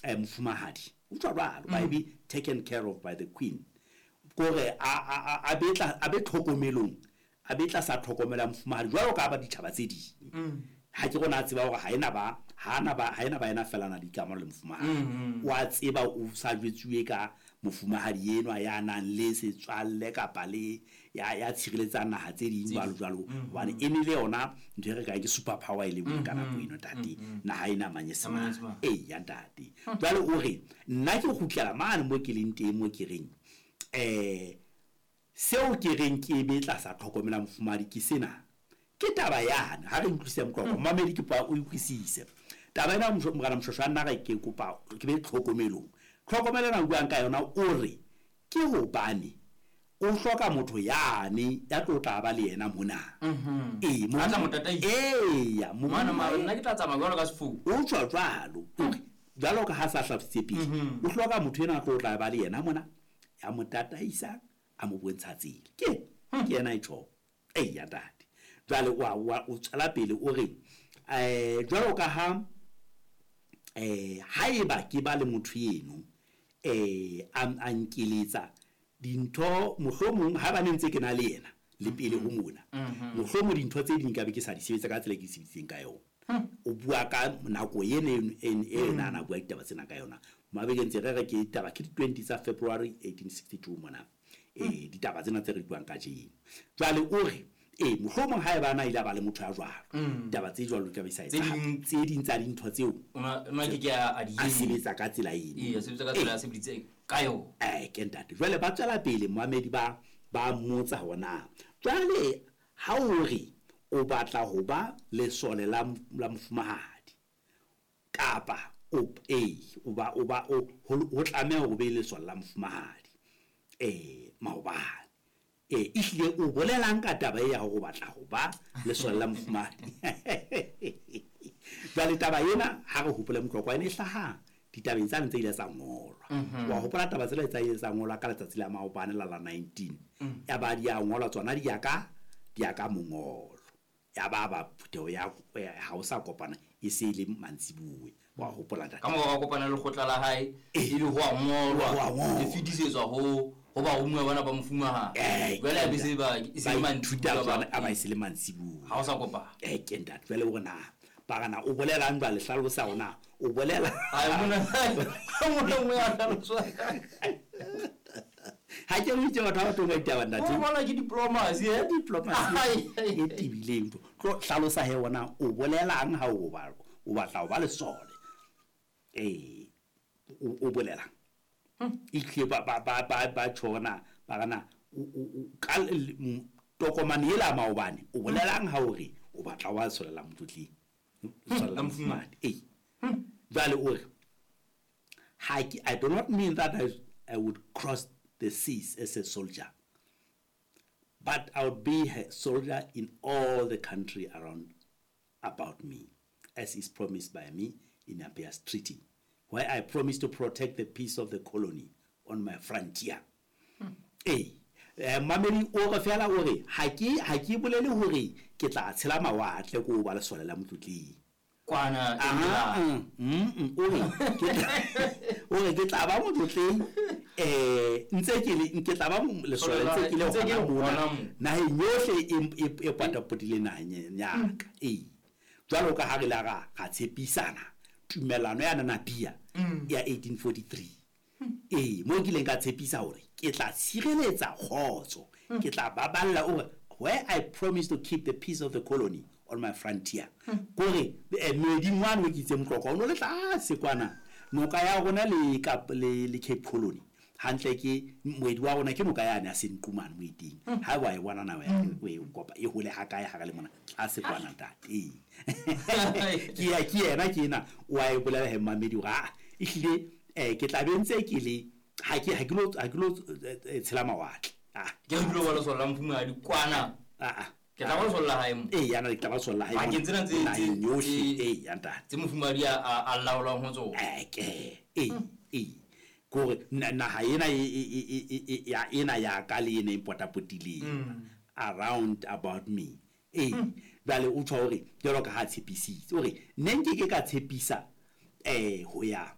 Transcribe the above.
Mofumahadi. O tjho jwalo, by be taken care of by the queen. Kore a be tla a be tlhokomelong, a be tlasa tlhokomelo ya mofumahadi jwalo ka ba ditjhaba tse ding. Ha ke rona a tseba hore ha ena ba ha na ba ha ena ba ena fela na le dikamano le mofumahadi. O a tseba o sa jwetsuwe ka mofumahadi enwa ya nang le setswalle kapa le ya ya tshireletsang naha tse ding jwalo jwalo, hobane e ne le yona ntho e re kang ke super power e le nngwe ka nako eno, ntate, naha ena Manyesemane. Ee ya ntate. Jwale o re nna ke kgutlela mane mo ke leng teng, mo ke reng seo ke reng ke be tlasa tlhokomela mofumahadi ke sena. Ke taba yane ha re utlwisise moqoqo, mamedi, ke kopa o utlwisise taba ena. Morena Moshweshwe a nna re ke kopa ke be tlhokomelong. Tlhokomelo ena o buang ka yona, o re ke hobane o hloka motho yane ya tlo tla ba le yena mona. Ee. A tla mo tataisa. Eya. Mane mara nna ke tla tsamaya jwalo ka sefofu. O tswa jwalo, o re jwalo ka ha sa hlalositse pele, o hloka motho ena a tlo tla ba le yena mona, ya mo tataisa, a mo bontsha tsela. Ke yena e tjho. Eya ntate. Jwale wa o tswela pele, o re jwalo ka ha haeba ke ba le motho eno, a nkeletsa dintho, mohlomong ha ba ne ntse ke na le yena le pele ho mona, mohlomong dintho tse ding ka be ke sa di sebetsa ka tsela e ke di sebeditseng ka yona. O bua ka nako ene e na bua ditaba tsena ka yona. Mabekeng tse re re ke taba ke di 20 tsa February 1862 mona. Ditaba tsena tse re buang kajeno. Jwale o re mohlomong ha eba na ile a ba le motho ya jwalo, ditaba tse jwalo di ka be sa Tse etsahala. Tse ding tsa dintho tseo o na ke ke a di a sebetsa ka tsela eno. Ee, a sebetsa ka tsela a sebeditseng ka yona. Ke ntate. Jwale ba tswela pele, moamedi, ba mmotsa hore na jwale ha o re o batla ho ba lesole la mofumahadi, kapa o o ba o ho tlameha hore o be lesole la mofumahadi maobane, ehlile o bolelang ka taba e ya hore o batla ho ba lesole la mofumahadi? Jwale taba ena, ha re hopole moqoqo, ene e hlaha ditabeng tsane tse ile tsa ngolwa. Wa hopola taba tsela tsa ile tsa ngolwa ka letsatsi la maobane la 19, ya ba di a ngolwa tsona, di ya ka mongolo, ya ba phutheho ya ha o sa kopana e se e le mantsibuwe. Wa hopola, ntate? Ka mora kopana le lekgotla la hae, e le ho a ngolwa. Ho a ngolwa. Le fetisetswa ho baromuwa bana ba mofumahadi. Jwale a be se ba e se le ba ithuta mantsibuya. Tsona a ba e se le mantsibuya. Ha o sa kopana. Ke ntate. Jwale o re na ba re na o bolelang jwale, hlalosa hore na o bolela. Ai, mona nngwe ya hlaloswa. Ha ke re itse batho ba batho ba ditaba, ntate. O bona ke diplomacy eh diplomacy e tebileng. Tlo hlalosa he ona o bolelang ha o ba o batla ho ba lesole, o bolelang? E ba tjhona ba rana ka tokomane ela maobane, o bolelang ha o re o batla wa lesole la motlotleng, lesole la mofumahadi? Jwale o re ha ke, I do not mean that I would cross the seas as a soldier, but I would be a soldier in all the country around about me, as is promised by me in Napier's Treaty, where I promise to protect the peace of the colony on my frontier. Mamedi, o re fela o re ha ke bolele hore ke tla tshela mawatle ko ba lesole la motlotleng kwana. Aha, o re ke tla ba motlotleng, ntse ke le ke tla ba lesole ntse ke le Ntse ke le hona mona hona mo. Naheng yohle e potapotileng naheng ya ka, jwalo ka ha re la ra tshepisana tumellano ya Namibia ya 1843, mo ke ileng ka tshepisa hore ke tla tshireletsa kgotso, ke tla baballa. O re where I promise to keep the peace of the colony on my frontier, kore moeding wane o ke itse motlokwa o no le tlase kwana, noka ya rona le Kap le Cape Colony hantle, ke moedi wa rona, ke noka yane ya Senqumane moeding. Ha wa e bona na o e kopa e hole ha kae ha re le mona tlase kwana, ntate? Ke ya ke yena ke ena o a e bolela he mamedi hore a ehlile ke tla be ntse ke le ha ke lo tshela mawatle. Ah. Ke re dilo ba lesole la mofumahadi kwana. Ah ah. Ke tla ba lesole la hae mo. Ee, yana ke tla ba lesole la hae. Pakeng tsena naheng yohle, ee ya ntate. Tse mofumahadi a laolang ho tsona. Ke ee, kore naha ena ya ena ya ka le ena e potapotileng around about me. Jwale o tjho hore jwalo ka ha tshepisitse, o re ne nke ke ka tshepisa ho ya